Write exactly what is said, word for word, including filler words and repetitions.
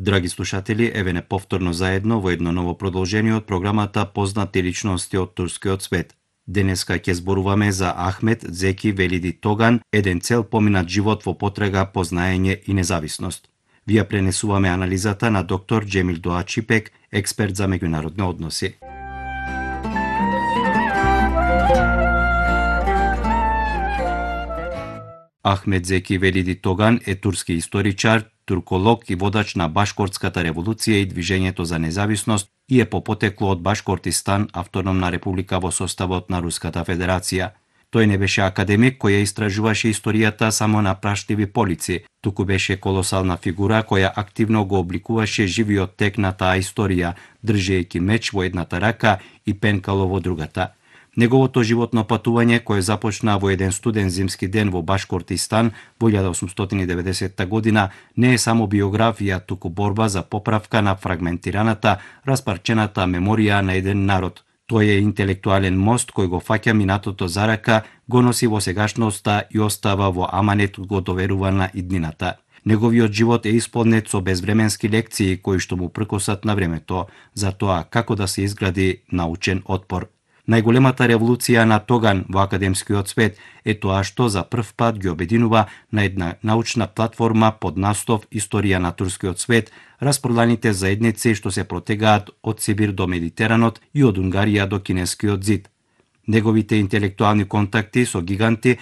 Драги слушатели, еве не повторно заедно во едно ново продолжение од програмата Познати личности од турскиот свет. Денеска ќе зборуваме за Ахмет Зеки Велиди Тоган, еден цел поминат живот во потрага по знаење и независност. Вие пренесуваме анализата на доктор Джемил Доачипек, експерт за меѓународни односи. Ахмет Зеки Велиди Тоган е турски историчар, турколог и водач на Башкортската револуција и движењето за независност и е по потекло од Башкортистан, автономна република во составот на Руската Федерација. Тој не беше академик кој ја истражуваше историјата само на праштливи полици, туку беше колосална фигура која активно го обликуваше живиот тек на таа историја, држејќи меч во едната рака и пенкало во другата. Неговото животно патување, кое започна во еден студен зимски ден во Башкортистан во илјада осумстотини и деветдесетта година, не е само биографија, туку борба за поправка на фрагментираната, распарчената меморија на еден народ. Тој е интелектуален мост кој го фаќа минатото за рака, го носи во сегашноста и остава во аманетот го доверува на иднината. Неговиот живот е исполнет со безвременски лекции кои што му пркосат на времето за тоа како да се изгради научен отпор. Најголемата револуција на Тоган во академскиот свет е тоа што за прв пат ги обединува на една научна платформа под настов Историја на турскиот свет, распроданите заедници што се протегаат од Сибир до Медитеранот и од Унгарија до Кинескиот зид. Неговите интелектуални контакти со гиганти